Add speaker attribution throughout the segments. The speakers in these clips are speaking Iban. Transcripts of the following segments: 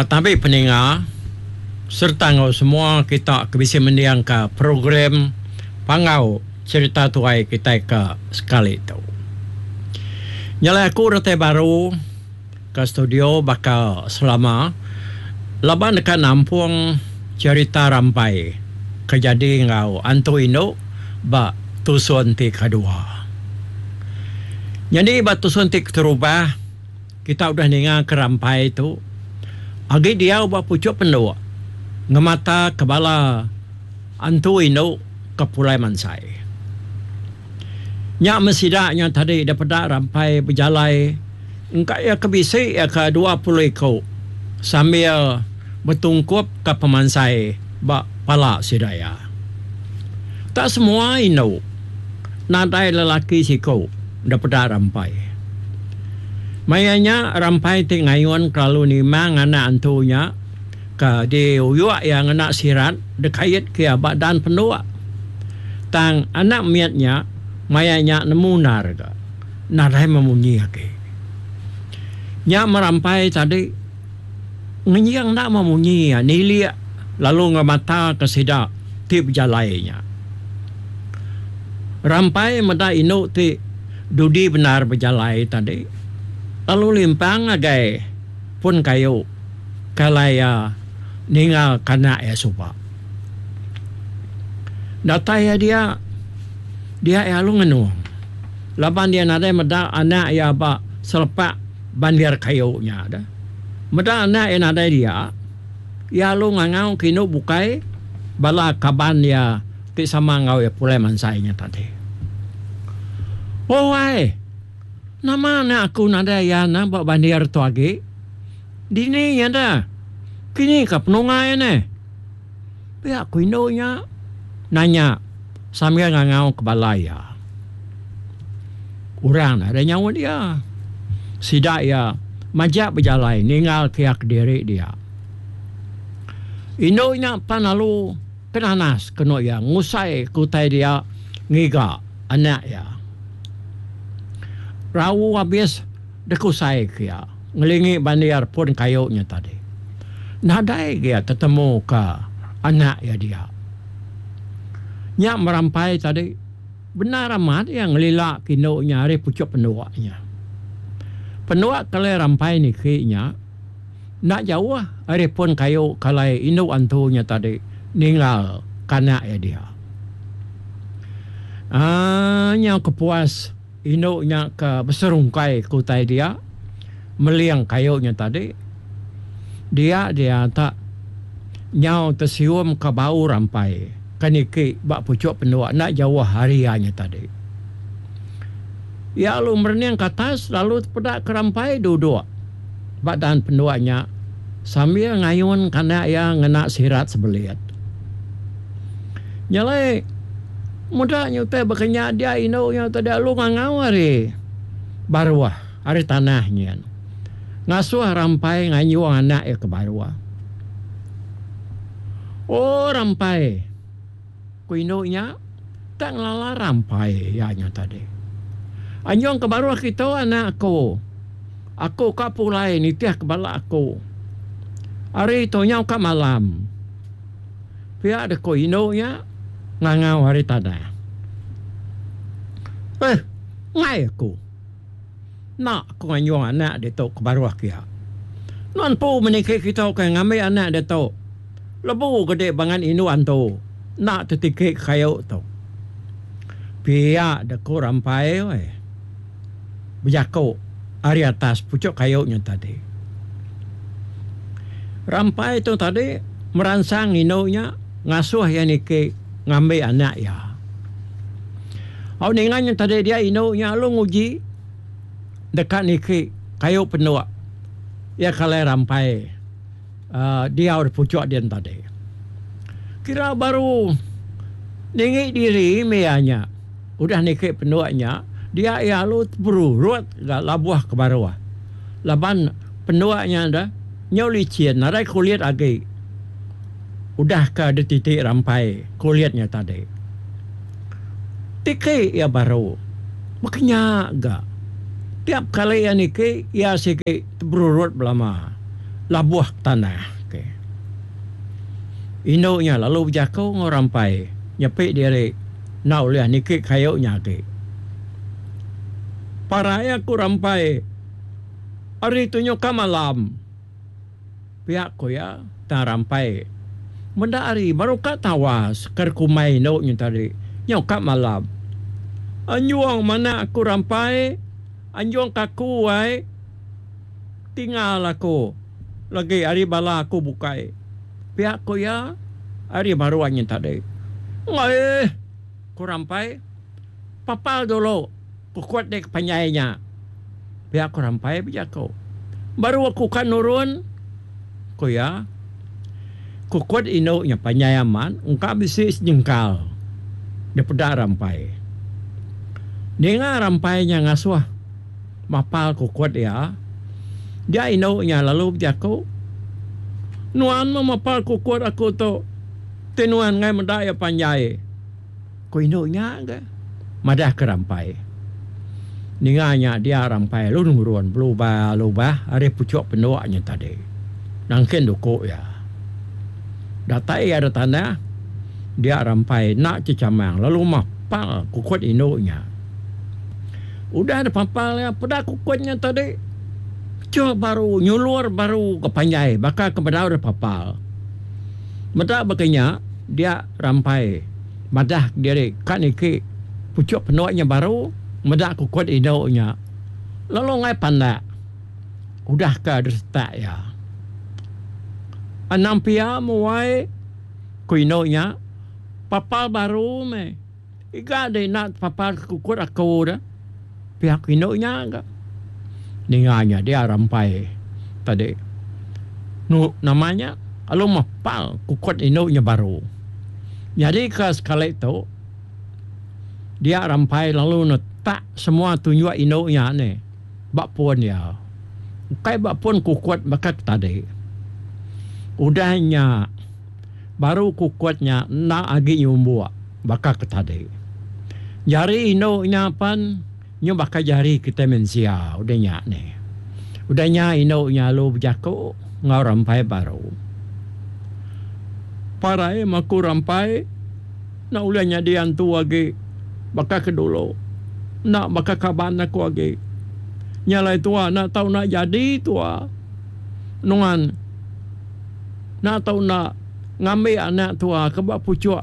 Speaker 1: Tabi peninga sereta enggau semua kita ke bisi mendingka program Panggau Cherita Tuai kitai ke sekali tu. Nya alai aku datai baru ke studio baka selama laban deka nampung cherita rampai ke jadi enggau antu indu ba tusun ti kedua. Nyadi ba tusun ti keterubah kita udah ninga ke rampai tu agi diau ba puchuk penduk ngemata ke bala antu indu ke pulai mansai. Nya meh sida nya tadi da peda rampai bejalai engka iya ke bisi iya ke 20 iku sambil betungkup ka pemansai ba pala sida iya. Tak semua indu nadai lelaki siku da peda rampai. Maya nya rampai ti ngayun kelalu nimang anak antu nya ke diuyuk iya ngena sirat dikait ke iya ba dan penduk. Tang anak mit nya maya nya nemu endar ga nadai memunyi agi. Nya merampai tadi ngenjing enda memunyi iya nilik lalu ngemata ke sida ti bejalai nya. Rampai meda indu ti dudi bendar bejalai tadi lalu limpang ngagai pun kayu ke alai iya ninga ke anak iya suba. Datai iya dia, dia iya lalu ngenung laban iya nadai meda anak iya ba selepak bandir kayu nya deh. Meda anak iya nadai dia, iya lalu ngangau ke indu bukai bala kaban iya ti sama enggau iya pulai mansai nya tadi. Oh ai, nama anak aku nadai iya ne ba bandir tu agi? Dini iya deh. Kini ka penunga iya neh. Pia ku indu nya nanya sambil ngangau ke bala iya. Orang nadai nyaut iya. Sida iya majak bejalai ninggal ke iya kediri dia. Indu nya pan lalu kenanas kenu iya ngusai ke utai dia ngiga anak iya. Rau abis Dekusai ke iya ngelingi bandir pun kayu nya tadi. Nadai ge iya tetemu ka anak iya dia. Nya merampai tadi bendar amat iya ngelila ke indu nya ari puchuk penduk nya. Penduk ke alai rampai niki nya enda jauh ari pun kayu ke alai indu antu nya tadi ninggal ke anak iya dia. Aaa nyau kepuas. Indu nya ke beserungkai ke utai dia, meling kayu nya tadi, dia dia tak nyau tesium ka bau rampai ke niki ba puchuk penduk enda jauh ari iya nya tadi. Iya lalu merening ke atas lalu tepeda ke rampai duduk ba dan penduk nya sambil ngayun ke anak iya ngena sirat sebelit. Nya alai meda nya utai baka nya dia indu nya tadi lalu ngangau ari baruh ari tanah nyin ngasuh rampai nganjung anak iya ke baruh. Oh rampai ku indu nya tak ngelala rampai iya nya tadi. Anjung ke baruh kitu anak aku. Aku ka pulai nitih ke bala aku. Ari tu nyau ka malam. Pia deh ko indu nya ngangau ari tanah. Eh, enggai aku. Enda aku nganjung anak ditu ke baruh kia. Nuan empu meniki kita ke ngambi anak ditu. Lebu gede bangat indu antu enda tetiki kayu tu. Pia deh ko Rampai weh. Bejaku ari atas puchuk kayu nya tadi. Rampai tu tadi meransang indu nya ngasuh iya niki ngambi anak iya. Au ninga nya tadi dia indu nya lalu nguji deka niki kayu penduk iya ke alai rampai uhh diau di puchuk din tadi. Kira baru ninggi diri mih iya nya. Udah niki penduk nya, dia iya lalu teberurut ga labuh ke baruh. Laban penduk nya deh nyau licin nadai kulit agi udah ke dititi rampai kulit nya tadi. Tiki iya baru baka nya ga. Tiap kali iya niki, iya sigi teberurut belama labuh ke tanah. Okay. Indu nya lalu bejaku enggau Rampai nyepi diri enda ulih niki kayu nya agi. Parai aku Rampai ari tunjuk ka malam. Pia ku iya tang Rampai meda hari baru ka tawas ke kumbai indu nya tadi nyau ka malam. Anjung manah aku Rampai, anjung ka aku ai tinggal aku lagi ari bala aku bukai. Pia ku iya ari baruh nya tadi. Aih ku Rampai papal dulu. Kukut dek panjai nya. Pia ku Rampai bejaku. Baru aku ka nurun, ku iya. Kukut indu nya panjai amat engka bisi sejengkal dipeda Rampai. Ninga Rampai nya ngasuh mapal kukut iya, dia indu nya lalu bejaku, Nuan meh mapal kukut aku tu ti nuan enggai meda iya panjai. Ku indu nya ga madahka Rampai. Ninga nya dia Rampai lalu nurun belubah-lubah ari puchuk penduk nya tadi. Nangkin duku iya. Datai iya da tanah, dia Rampai enda chechamang lalu mapal kukut indu nya. Udah dipapal iya peda kukut nya tadi cheh baru nyulur baru ke panjai baka ke bedau dipapal. Meda baka nya dia Rampai madah kediri ka niki puchuk penduk nya baru meda kukut indu nya lalu enggai pandak udah ke disetak iya. Anang pia muai ku indu nya papal baru meh iga deh enda tepapal ke kukut aku deh pia ku indu nya ga. Ninga nya dia Rampai tadi nu nama nya lalu mepal kukut indu nya baru. Nyadi ke sekali tu dia Rampai lalu netak semua tunjuk indu nya nih ba pun iya. Ukai ba pun kukut baka ke tadi. Udah nya baru kukut nya enda agi nyumbuk baka ke tadi. Jari indu nya pen nyu baka jari kitai mensia udah nya nih. Udah nya indu nya lalu bejaku enggau Rampai baru. Parai maku Rampai enda ulih nyadi antu agi baka ke dulu. Enda baka kaban aku agi. Nya alai tua enda tau enda jadi tua. Nuan enda tau enda ngambi anak tua ke ba puchuk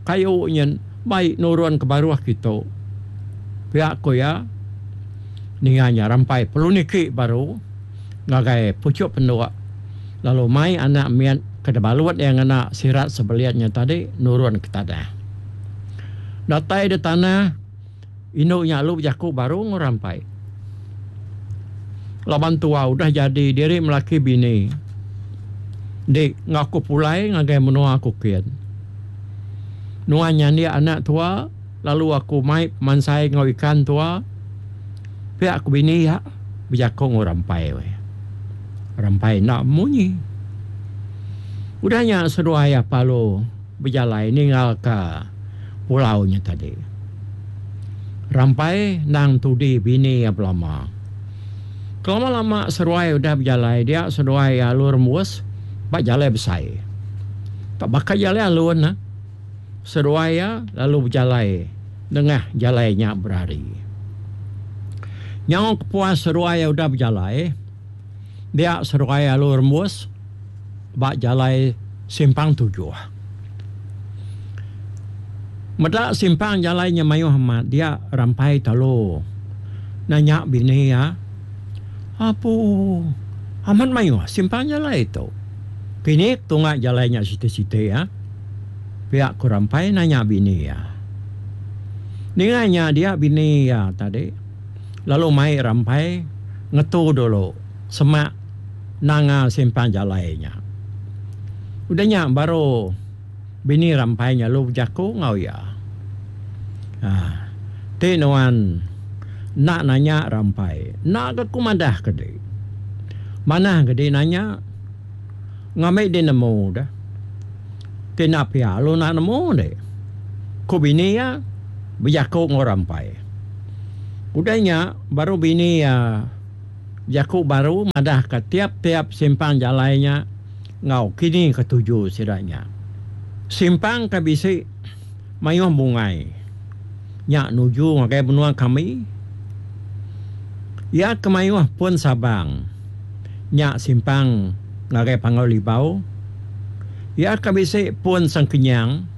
Speaker 1: kayu nyin bai nurun ke baruh kitu. Pia ku iya ninga nya Rampai perlu niki baru. Ngagai puchuk penduk lalu mai anak mit ke dibalut iya ngena sirat sebelit nya tadi nurun ke tanah. Datai di tanah, indu nya lalu bejaku baru enggau Rampai. Laban tua udah jadi diri melaki bini di enggau aku pulai ngagai menua aku kin. Nuan nyandik anak tua lalu aku mai pemansai enggau ikan tua pia ku bini iya. Bejaku enggau Rampai weh. Rampai enda munyi. Udah nya seduai iya lalu bejalai ninggalka pulau nya tadi. Rampai endang tudi bini iya belama. Kelama-lama seduai udah bejalai dia seduai iya lalu rembus ba jalai besai. Tak baka jalai alun ne. Seduai iya lalu bejalai nengah jalai nya berari. Nyau kepuas seduai iya udah bejalai, dia seduai iya lalu rembus ba jalai simpang tujuh. Meda simpang jalai nya mayuh amat dia Rampai Talo nanya bini iya, Apu, amat mayuh simpang jalai tu. Kini tunga jalai nya siti-siti iya. Pia ku Rampai nanya bini iya. Ninga nya dia bini iya tadi lalu mai Rampai ngetu dulu semak nanga simpang jalai nya. Udah nya baru bini Rampai nya lalu bejaku enggau iya. Aaa ti nuan enda nanya Rampai enda ga ku madah ke di. Manah ga di nanya. Ngambi di nemu deh. Ti enda pia lalu enda nemu deh. Ku bini iya bejaku enggau Rampai. Udah nya baru bini iya bejaku baru madahka tiap-tiap simpang jalai nya enggau kini ke tuju sida nya. Simpang ke bisi mayuh bungai nya nuju ngagai menua kami. Iya ke mayuh pun sabang nya simpang ngagai Panggau Libau. Iya ke bisi pun sengkenyang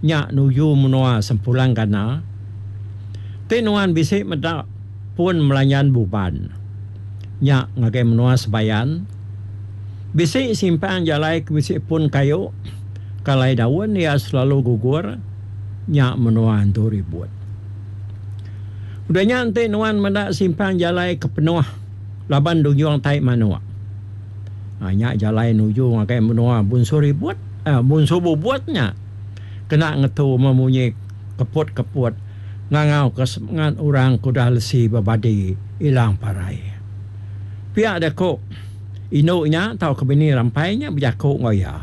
Speaker 1: nya nuju menua Sempulang Gana. Ti nuan bisi meda pun Melanyan Buban nya ngagai menua Sebayan. Bisi simpang jalai ke bisi pun kayu ke alai daun iya selalu gugur nya menua Antu Ribut. Udah nya enti nuan meda simpang jalai ke penuh laban dunjung tai manuk nya jalai nuju ngagai menua Bunsu Ribut uhh Bunsu Bubut nya kena ngetu memunyi keput-keput ngangauka semengat orang ke udah lesi bebadi ilang parai. Pia deh ku indu nya tauka bini Rampai nya bejaku enggau iya.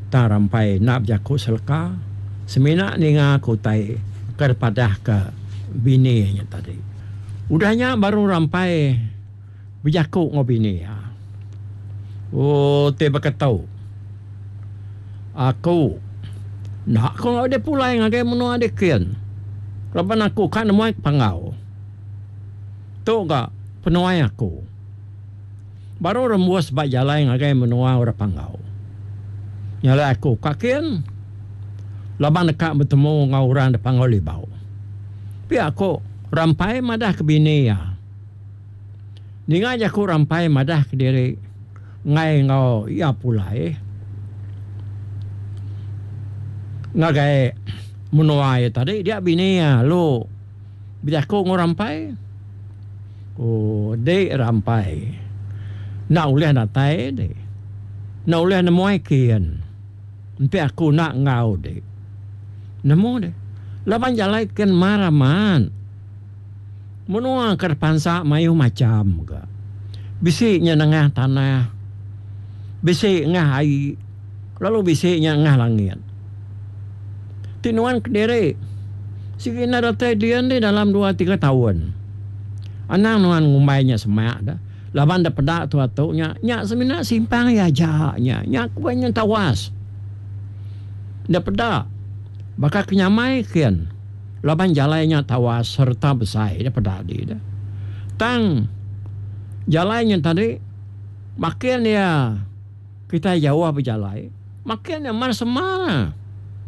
Speaker 1: Tang Rampai enda bejaku seleka semina ninga ke utai ke dipadahka bini iya nya tadi. Udah nya baru Rampai bejaku enggau bini iya. Ooh ti baka tu. Aku enda ku enggau deh pulai ngagai menua dikin laban aku ka nemuai ke Panggau. Tu ga penuai aku. Baru rembus ba jalai ngagai menua orang Panggau. Nyalai aku ka kin laban deka betemu enggau orang da Panggau Libau. Pia ku Rampai madah ke bini iya. Ninga jaku Rampai madah kediri enggai enggau iya pulai ngagai menua iya tadi dia bini iya lalu. Bejaku enggau Rampai. Oh, dik Rampai. Enda ulih datai dik. Enda ulih nemuai kin. Enti aku enda enggau dik. Nemu dik. Laban jalai kin mar amat. Menua ke dipansa mayuh macham ga. Bisi nya nengah tanah. Bisi ngah ai. Lalu bisi nya ngah langit. Ti nuan kediri sigi enda datai dian dih dalam dua tiga taun. Anang nuan ngumbai nya semak da laban da peda tua tu nya nya semina simpang iya aja nya nya ku nya tawas. Enda peda baka ke nyamai kin laban jalai nya tawas sereta besai da peda di da. Tang jalai nya tadi makin iya. Kitai jauh bejalai, makin nya mar sema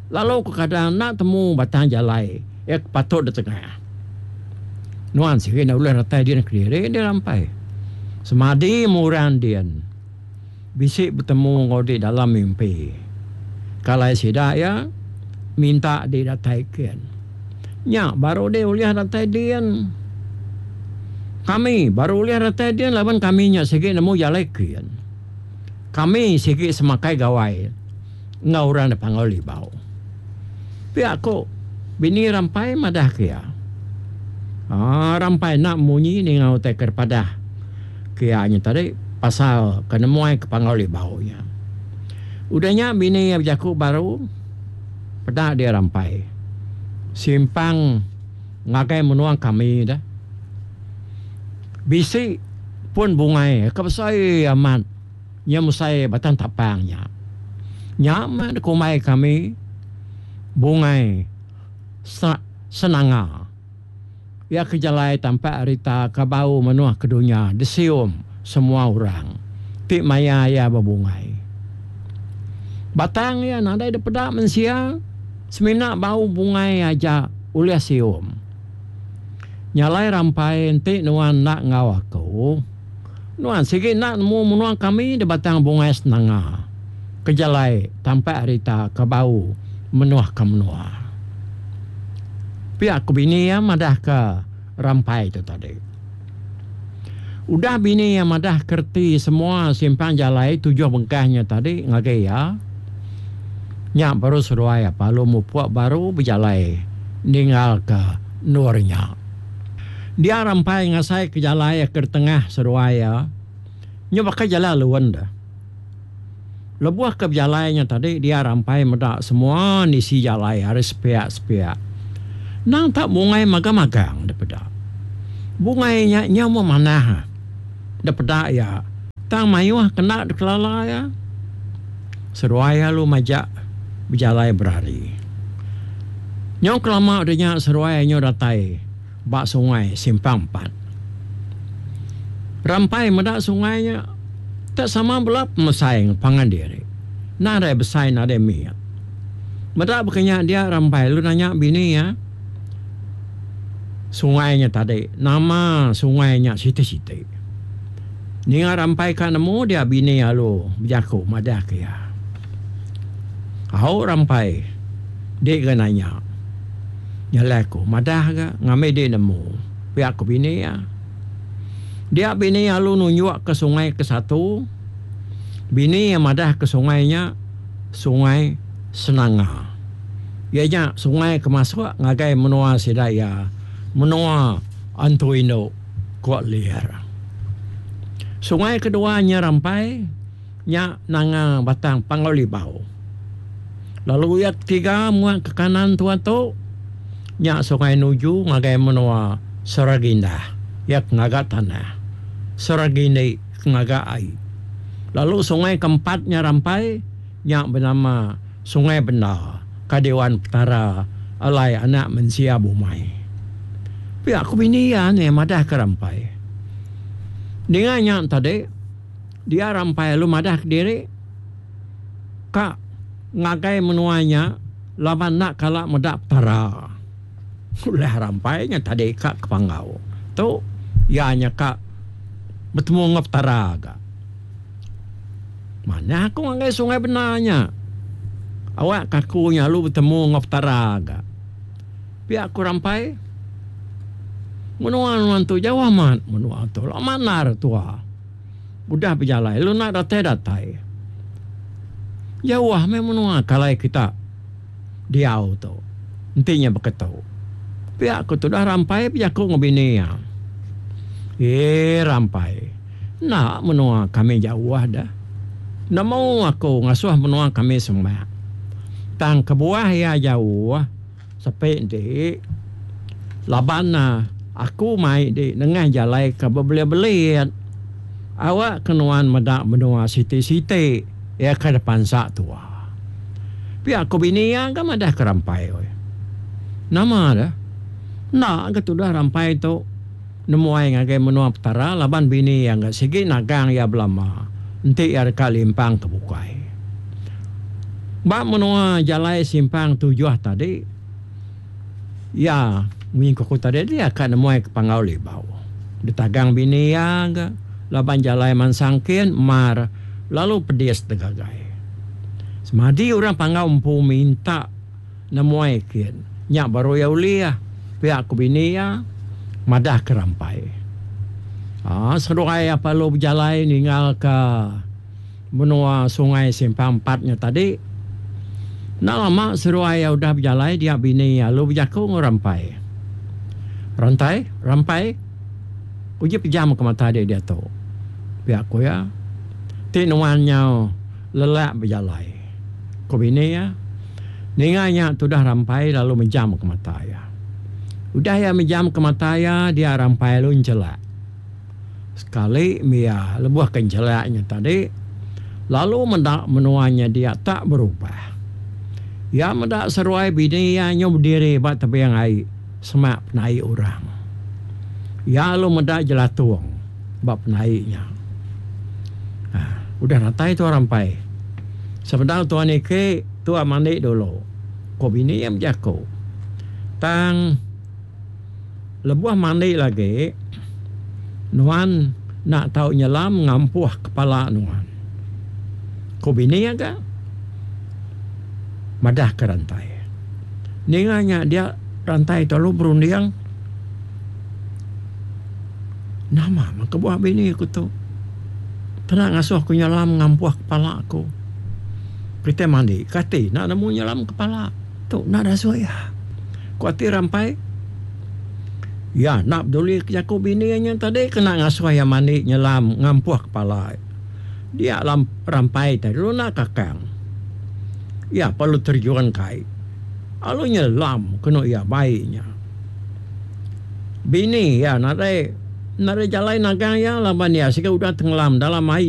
Speaker 1: lalu kekadang enda temu batang jalai iya ke patut ditengah. Nuan sigi enda ulih datai din kediri deh rampai. Semadi meh orang din bisi betemu enggau dek dalam mimpi. Kalai sida iya minta dek datai kin. Nya baru deh ulih datai din. Kami baru ulih datai din laban kami nya sigi nemu jalai kin. Kami sigi semakai gawai enggau orang da Panggau Libau. Pia ku bini Rampai madah ke iya. Aa Rampai enda munyi ninga utai ke dipadah ke iya nya tadi pasal ke nemuai ke Panggau Libau nya. Udah nya bini iya bejaku baru peda dia Rampai simpang ngagai menua kami dah. Bisi pun bungai ke besai amat nya mesai batang tapang nya. Nya meh dikumbai kami bungai senanga. Iya ke jalai tampak rita ke bau menuh ke dunya disium semua orang ti maya iya bebungai. Batang iya nadai dipeda mensia semina bau bungai aja ulih sium. Nya alai rampai enti nuan enda enggau aku, nuan sigi enda nemu menua kami di Batang Bungai Senanga ke jalai tampak rita ke bau menuhka menua. Pia ku bini iya madahka rampai tu tadi. Udah bini iya madahka reti semua simpang jalai tujuh bengkah nya tadi ngagai iya, Nya baru seduai lalu mupuk baru bejalai ninggalka endur nya. Dia rampai ngasaika jalai ke ditengah seduai iya nya baka jalai alun deh. Lebuh ke bejalai nya tadi dia rampai meda semua nisi jalai ari sepiak-sepiak. Endang tak bungai magang-magang dipeda. Bungai nya nyau memanah dipeda iya tang mayuh kena dikelala iya. Seduai lalu majak bejalai berari. Nyau kelama udah nya seduai nyau datai ba sungai Simpang Empat. Rampai meda sungai nya tak sama bela pemesai enggau pangan diri. Nadai besai nadai mit. Meda baka nya dia Rampai lalu nanya bini iya. Sungai nya tadi nama sungai nya siti-siti. Ninga rampai ka nemu dia bini alu bejaku madah ke iya. Au rampai di ga nanya. Nya alai aku madah ga ngambi di nemu pia ku bini iya. Dia bini alu nunjuk ke sungai ke satu. Bini iya madah ke sungai nya sungai Senanga. Iya nya sungai ke masuk ngagai menua sida iya, menua Antu Indu, ku Lir. Sungai kedua nya Rampai nya nanga Batang Panggau Libau. Lalu iya ketiga muak ke kanan tua tu nya sungai nuju ngagai menua Seragindah, iya ke ngaga tanah. Seragindi ke ngaga ai. Lalu sungai keempat nya Rampai nya benama Sungai Benda ka diwan Petara alai anak mensia bumai. Pia ku bini iya nih madah ke Rampai. Ninga nya tadi, dia Rampai lalu madah kediri ka ngagai menua nya laban enda kala meda Petara. Ulah Rampai nya tadi ka ke Panggau tu iya nya ka betemu enggau Petara ga. Manah aku ngagai Sungai Bena nya. Awak ka aku nya lalu betemu enggau Petara ga. Pia ku Rampai. Menua nuan tu jauh amat menua tu lama endar tua udah bejalai lalu enda datai-datai. Jauh meh menua ke alai kita diau tu enti nya baka tu. Pia ku tudah Rampai bejaku enggau bini iya. Eee Rampai. Enda menua kami jauh deh. Nemu aku ngasuh menua kami semak. Tang kebuah iya jauh sepi enti laban aku mai di nengah jalai ke bebelit-belit. Awak ke nuan meda menua siti-siti iya ke dipansa tua. Pia ku bini iya ga madah ke Rampai. Nama deh. Enda ga tudah Rampai tu. Nemuai ngagai menua Petara laban bini iya enggau sigi nagang iya belama enti iya deka limpang ke bukai. Ba menua jalai simpang tujuh tadi, iya munyi ku aku tadi dia ka nemuai ke Panggau Libau. Ditagang bini iya ga laban jalai mansang kin mar lalu pedis degagai. Semadi orang Panggau empu minta. Nemuai kin. Nya baru iya ulih. Pia ku bini iya madah ke Rampai. Aa seduai iya perlu bejalai ninggalka menua Sungai Simpang Empat nya tadi. Enda lama seduai iya udah bejalai dia bini iya lalu bejaku enggau Rampai. Rantai, Rampai, uji pejam ke mata dek diatu. Pia ku iya. Ti nuan nyau lelak bejalai. Ku bini iya. Ninga nya tudah Rampai lalu mejam ke mata iya. Udah iya mejam ke mata iya, dia Rampai lalu enchelak. Sekali mia lebuh ke enchelak nya tadi, lalu meda menua nya dia tak berubah. Iya meda seruai bini iya nyau bediri ba tebing ai semak penai orang. Iya lalu meda jelatung ba penai nya. Udah datai tua Rampai. Sebedau tua niki. Tua mandi dulu, ku bini iya bejaku. Tang lebuh mandi lagi, nuan enda tau nyelam ngampuh kepala nuan, ku bini iya ga madahka Rantai. Ninga nya dia Rantai tu lalu berunding, Nama meh kebuah bini ku tu kena ngasuh ku nyelam ngampuh kepala ku. Kitai mandi kati enda nemu nyelam kepala tu enda dasuh iya. Ku ati Rampai, iya enda peduli ke jaku bini iya nya tadi kena ngasuh iya mandi nyelam ngampuh kepala. Dia Rampai tadi lalu enda kakang. Iya perlu terjun kai lalu nyelam kenu iya bai nya. Bini iya nadai nadai jalai nagang iya laban iya siga udah tengelam dalam ai.